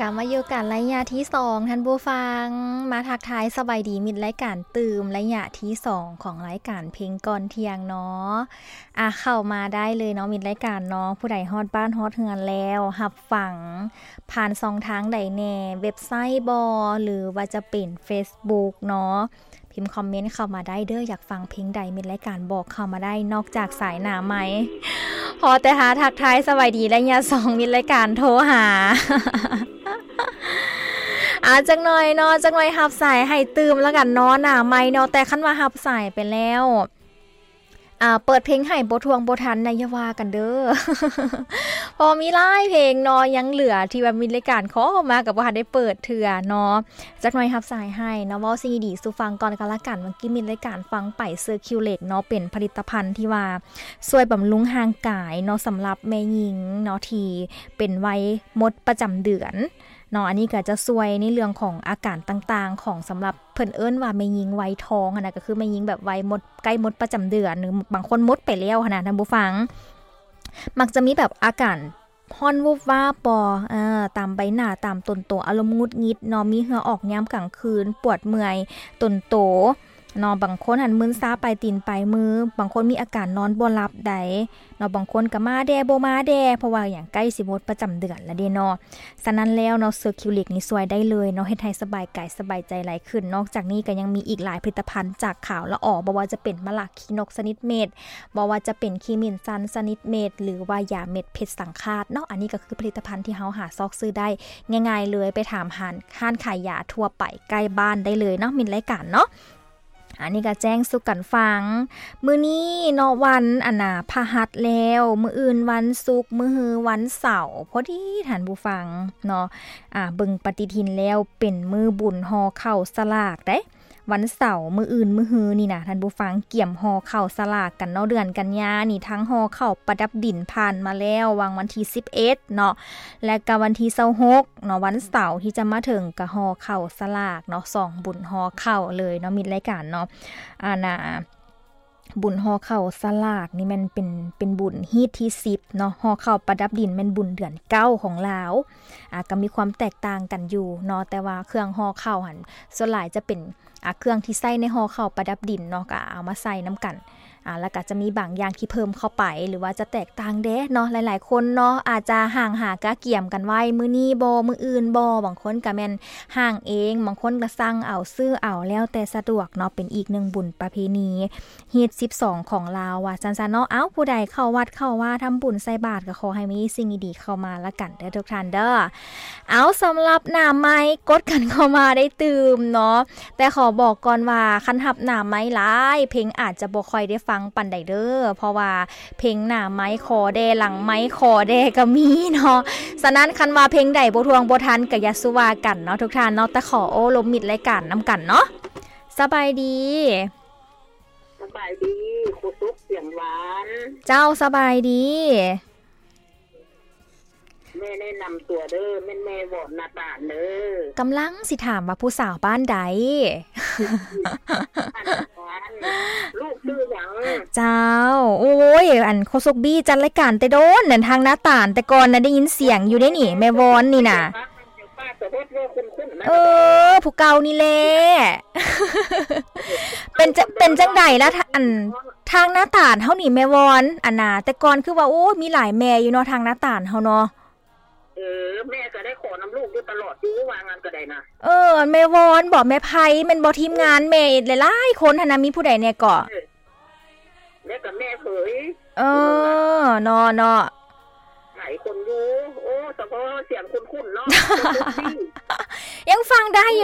ກັບມາຢູ່ກັນໄລຍະທີສອງ ທ່ານຜູ້ຟັງ ມາທັກທາຍສະບາຍດີມິດລາຍການຕື່ມ ໄລຍະທີສອງຂອງລາຍການເພງກ່ອນທ່ຽງເນາະ. ອາ ເຂົ້າມາໄດ້ເລີຍເນາະ ມິດລາຍການເນາະ. ຜູ້ໃດຮອດບ້ານຮອດເຮືອນແລ້ວ ຮັບຟັງຜ່ານຊ່ອງທາງໃດແດ່ ເວັບໄຊບໍ ຫຼືວ່າຈະເປັນເຟສບຸກເນາະ ພິມຄອມເມັນເຂົ້າມາໄດ້ເດີ້. ຢາກຟັງເພງໃດ ມິດລາຍການບອກເຂົ້າມາໄດ້ ນອກຈາກສາຍໜ້າໄມ. ພໍແຕ່ຫາທັກທາຍສະບາຍດີໄລຍະສອງ ມິດລາຍການໂທຫາ. ອາ ຈັກໜ່ອຍເນາະ ຈັກໜ່ອຍຮັບສາຍໃຫ້ຕື່ມລະກັນເນາະ ໜ້າໄມເນາະ. ແຕ່ຄັນວ່າຮັບສາຍໄປແລ້ວ ອາ ເປີດເພງໃຫ້ບໍ່ທ່ວງບໍ່ທັນນະ ຢ່າວ່າກັນເດີ້. ເພາະມີຫຼາຍເພງເນາະ ຍັງເຫຼືອທີ່ວ່າມີລາຍການຂໍເຂົ້າມາ ກໍບໍ່ທັນໄດ້ເປີດເທື່ອເນາະ. ຈັກໜ່ອຍຮັບສາຍໃຫ້ເນາະ ເວົ້າສິ່ງດີໆສູ່ຟັງກ່ອນກໍແລ້ວກັນ. ເມື່ອກີ້ມິດລາຍການຟັງໄປ Circulate ເນາະ ເປັນຜະລິດຕະພັນທີ່ວ່າຊ່ວຍບຳລຸງຮ່າງກາຍເນາະ ສຳລັບແມ່ຍິງເນາະ ທີ່ເປັນໄວໝົດປະຈຳເດືອນເນາະ. ອັນນີ້ກໍຈະຊ່ວຍໃນເລື່ອງຂອງອາການຕ່າງໆຂອງ ສຳລັບເພິ່ນເອີ້ນວ່າແມ່ຍິງໄວທອງຫັ້ນນະ ກໍຄືແມ່ຍິງແບບໄວໝົດ ໃກ້ໝົດປະຈຳເດືອນ ຫຼືບາງຄົນໝົດໄປແລ້ວຫັ້ນນະ ທ່ານຜູ້ຟັງ. ມັກຈະມີແບບອາການຮ້ອນວູບວາບບໍ ເອີ ຕາມໃບໜ້າ ຕາມຕົນໂຕ ອາລົມຫງຸດຫງິດເນາະ ມີເຫື່ອອອກຍາມກາງຄືນ ປວດເມື່ອຍຕົນໂຕເນາະ. ບາງຄົນຫັ້ນມຶນຊາປາຍຕີນປາຍມື ບາງຄົນມີອາການນອນບໍ່ຫຼັບໃດເນາະ. ບາງຄົນກໍມາແດ່ບໍ່ມາແດ່ ເພາະວ່າຫຍັງ ໃກ້ຊິໝົດປະຈຳເດືອນແລ້ວເດ້ເນາະ. ສະນັ້ນແລ້ວເນາະ Circulate ນີ້ຊ່ວຍໄດ້ເລີຍເນາະ ເຮັດໃຫ້ສະບາຍກາຍສະບາຍໃຈຫຼາຍຂຶ້ນ. ນອກຈາກນີ້ກໍຍັງມີອີກຫຼາຍຜະລິດຕະພັນຈາກຂາວລະອໍ ບໍ່ວ່າຈະເປັນໝາກຂີ້ນົກຊະນິດເມັດ ບໍ່ວ່າຈະເປັນຂີ້ໝິ່ນຊັນຊະນິດເມັດ ຫຼືວ່າຢາເມັດເພັດສັງຄາດເນາະ. ອັນນີ້ກໍຄືຜະລິດຕະພັນທີ່ເຮົາຫາຊອກຊື້ໄດ້ງ່າຍໆເລີຍ ໄປຖາມຮ້ານ ຮ້ານຂາຍຢາທົ່ວໄປໃກ້ບ້ານໄດ້ເລີຍເນາະ ມິດລາຍການເນາະ. ອັນນີ້ກໍແຈ້ງສູ່ກັນຟັງ ມື້ນີ້ເນາະ ວັນອັນນາພະຫັດແລ້ວ ມື້ອື່ນວັນສຸກ ມື້ຮືວັນເສົາ ພໍດີທ່ານຜູ້ຟັງເນາະ. ອາ ເບິ່ງປະຕິທິນແລ້ວເປັນມື້ບຸນຫໍ່ເຂົ້າສະຫຼາກເດ້ ວັນເສົາ ມື້ອື່ນມື້ຮືນີ້ນະ ທ່ານຜູ້ຟັງ ກຽມຫໍ່ເຂົ້າສະຫຼາກກັນເນາະ. ເດືອນກັນຍານີ້ ທັງຫໍ່ເຂົ້າປະດັບດິນຜ່ານມາແລ້ວ ຫວ່າງວັນທີສິບເອັດເນາະ ແລະກະວັນທີຊາວຫົກເນາະ ວັນເສົາທີ່ຈະມາເຖິງ ກະຫໍ່ເຂົ້າສະຫຼາກເນາະ. ສອງບຸນຫໍ່ເຂົ້າເລີຍເນາະ ມິດລາຍການເນາະ. ອັນນາ ບຸນຫໍ່ເຂົ້າສະຫຼາກນີ້ແມ່ນເປັນ ເປັນບຸນຮີດທີສິບເນາະ ຫໍ່ເຂົ້າປະດັບດິນແມ່ນບຸນເດືອນເກົ້າຂອງລາວ. ອາ ກໍມີຄວາມແຕກຕ່າງກັນຢູ່ເນາະ ແຕ່ວ່າເຄື່ອງຫໍ່ເຂົ້າຫັ້ນ ສ່ວນຫຼາຍຈະເປັນ ອາ ເຄື່ອງທີ່ໃສ່ໃນຫໍ່ເຂົ້າປະດັບດິນເນາະ ກໍເອົາມາໃສ່ນຳກັນ. ອາ ແລ້ວກໍຈະມີບາງຢ່າງທີ່ເພີ່ມເຂົ້າໄປ ຫຼືວ່າຈະແຕກຕ່າງແດ່ເນາະ. ຫຼາຍໆຄົນເນາະ ອາດຈະຫ້າງຫາກະກຽມກັນໄວ້ ມື້ນີ້ບໍ ມື້ອື່ນບໍ ບາງຄົນກໍແມ່ນຫ້າງເອງ ບາງຄົນກໍສັ່ງເອົາ ຊື້ເອົາ ແລ້ວແຕ່ສະດວກເນາະ. ເປັນອີກໜຶ່ງບຸນປະເພນີ ຮີດສິບສອງຂອງລາວວ່າຊັ້ນຊະເນາະ. ເອົ້າ ຜູ້ໃດເຂົ້າວັດເຂົ້າວາ ທຳບຸນໃສ່ບາດ ກໍຂໍໃຫ້ມີສິ່ງດີໆເຂົ້າມາລະກັນເດີທຸກທ່ານເດີ. ເອົາ ສຳລັບໜ້າໄມ ກົດກັນເຂົ້າມາໄດ້ຕື່ມເນາະ ແຕ່ຂໍບອກກ່ອນວ່າ ຄັນຮັບໜ້າໄມຫຼາຍ ເພງອາດຈະບໍ່ຄ່ອຍໄດ້ຟັງປານໃດເດີ ເພາະວ່າເພງໜ້າໄມຂໍແດ່ ຫຼັງໄມຂໍແດ່ກໍມີເນາະ. ສະນັ້ນ ຄັນວ່າເພງໃດບໍ່ທ່ວງບໍ່ທັນ ກໍຢ່າສູ່ວ່າກັນເນາະທຸກທ່ານເນາະ ແຕ່ຂໍໂອ້ລົມມິດລາຍການນຳກັນເນາະ. ສະບາຍດີ. ສະບາຍດີ ໂຄສົກສຽງຫວານ. ເຈົ້າ ສະບາຍດີ. ແມ່ແນະນຳຕົວເດີ ແມ່ນແມ່ວອນນາຕານເດີ. ກຳລັງຊິຖາມວ່າຜູ້ສາວບ້ານໃດ? ລູກຊື່ຫຍັງ? ເຈົ້າ ໂອ້ຍ ອັນ ໂຄສົກບີຈັດລາຍການແຕ່ດົນນັ້ນ ທາງນາຕານ ແຕ່ກ່ອນນະໄດ້ຍິນສຽງຢູ່ເດ້ນີ້ ແມ່ວອນນີ້ນະ. ເອີ ຜູ້ເກົ່ານີ້ແຫຼະ. ເປັນຈະ ເປັນຈັ່ງໃດລະ ທ- ອັນ ທາງນາຕານເຮົານີ້ແມ່ວອນ ອັນນາ ແຕ່ກ່ອນຄືວ່າ ໂອ້ ມີຫຼາຍແມ່ຢູ່ເນາະ ທາງນາຕານເຮົາເນາະ. ເອີ ແມ່ກໍໄດ້ຂໍນຳລູກຢູ່ຕະຫຼອດຢູ່ ວ່າງານກໍໄດ້ນະ. ເອີ ແມ່ວອນບໍ ແມ່ໄພແມ່ນບໍ ທີມງານແມ່ຫຼາຍໆຄົນຫັ້ນນະ ມີຜູ້ໃດແດ່ເກາະ? ເອີ ແລ້ວກໍແມ່ເຜີຍ. ເອີ ເນາະ ເນາະ ຫຼາຍຄົນຢູ່. ໂອ້ ສະເພາະສຽງຄຸ້ນໆເນາະ ຍັງຟັງໄດ້